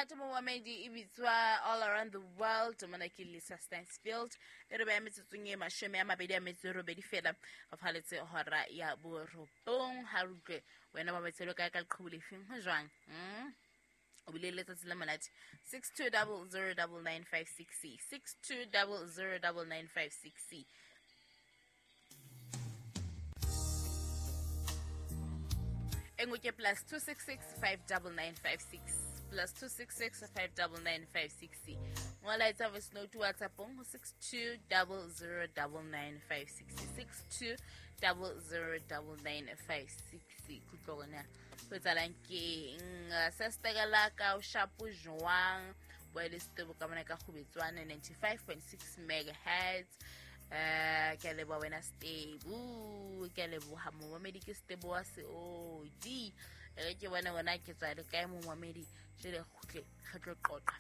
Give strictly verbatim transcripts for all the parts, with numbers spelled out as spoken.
Monate momamedi e bitswa All Around the World. Mona ke Lisa Stansfield. E re beha metsotsong e mashome a mabedi a metso e robedi fela re phaletse hora ya borobong. Ha re utlwe wena mametselo kae ka leqhubu lefeng ho jwang? Mm? O bile le letsatsi la monate. six two zero zero nine nine five six C. six two zero zero nine nine five six C. Engwe ke plus two six six five nine nine five six. Plus two six six five nine nine five six. Ngola etsa voice note WhatsApp ho six two zero zero nine nine five six. six two zero zero nine nine five six. Kutlo rona ho etsahalang ke eng? Sestegela ka o shapo jwang? Bua le Setebo ka mona ka Kgubetswane ninety-five point six megahertz. Eh, ke a leboha wena Setebo, ke a leboha momamedi ke Setebo wa Seodi. E re ke bone wena ke tswa le kae momamedi, jwale re kgutle re tlo qoqa.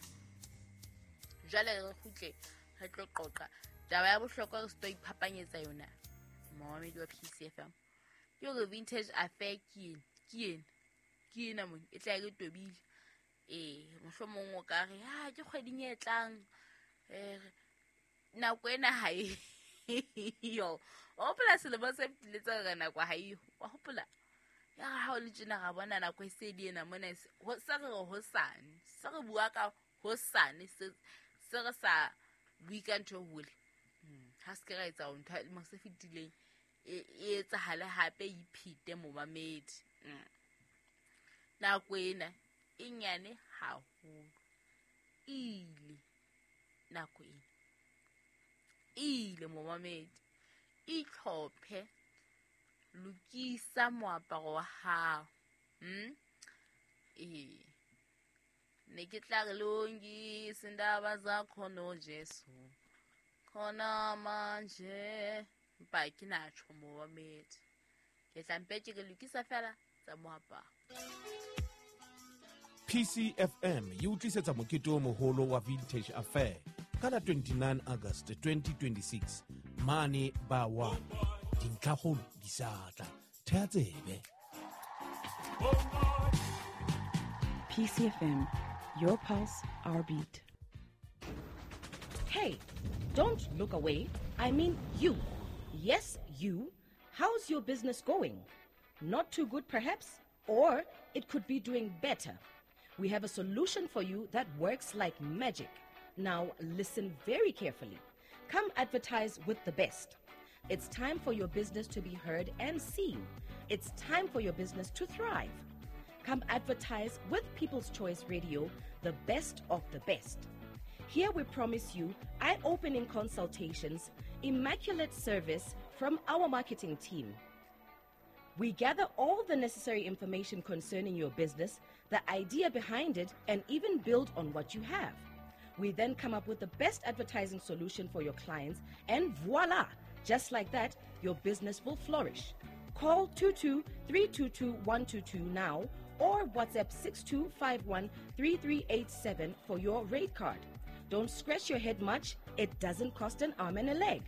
Jwale re kgutle re tlo qoqa. Taba ya bohlokwa re se tlo iphapanyetsa yona momamedi wa P C F M. Ke hore vintage affair ke ena, ke ena, ke ena mona e tla e re tobile. Eh, mohlomong o ka re ha ke kgweding e tlang, eh, nako ena ha e yo. O hopola selemo se fetileng tse re nako ha eyo. Wa hopola? Ya ha o le tjena ra bona nako e se le ena mona e se, ho, se re re hosane. Se re bua ka hosane, se, se re sa bue ka ntho e hole. Hmm, ha se ke ra etsa ntho ya lemo se fetileng e, e etsahale hape e iphete momamedi. Hmm. Nako ena e nyane haholo. Ile nako ena. Ile momamedi. Itlhophe, lokisa moaparo wa hao. Hmm? Eh. Ne ke tla re lungisa indaba zakho no Jesu. Khona manje mpa ke na tjho momamedi. Ke tla mpe ke re lokisa fela tsa moaparo. P C F M e utlisetsa mokete o moholo wa Vintage Affair ka la twenty-nine August twenty twenty-six mane ba one. Dintlhakgolo di sa tla. Theha tsebe. P C F M, your pulse, our beat. Hey, don't look away. I mean you. Yes, you. How's your business going? Not too good, perhaps? Or it could be doing better. We have a solution for you that works like magic. Now, listen very carefully. Come advertise with the best. It's time for your business to be heard and seen. It's time for your business to thrive. Come advertise with People's Choice Radio, the best of the best. Here we promise you eye-opening consultations, immaculate service from our marketing team. We gather all the necessary information concerning your business, the idea behind it, and even build on what you have. We then come up with the best advertising solution for your clients, and voila! Just like that, your business will flourish. Call two two three two two one two two now or WhatsApp six two five one three three eight seven for your rate card. Don't scratch your head much. It doesn't cost an arm and a leg.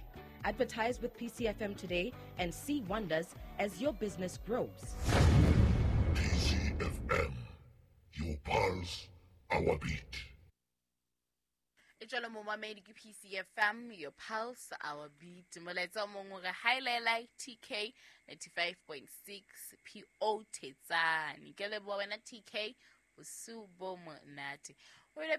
Advertise with P C F M today and see wonders as your business grows. P C F M, your pulse, our beat. E jwalo momamedi ke P C F M, your pulse, our beat. Molaetsa o mongwe re highlight T K ninety-five point six P O Thetsane. Ke leboha wena T K, bosiu bo monate. O ile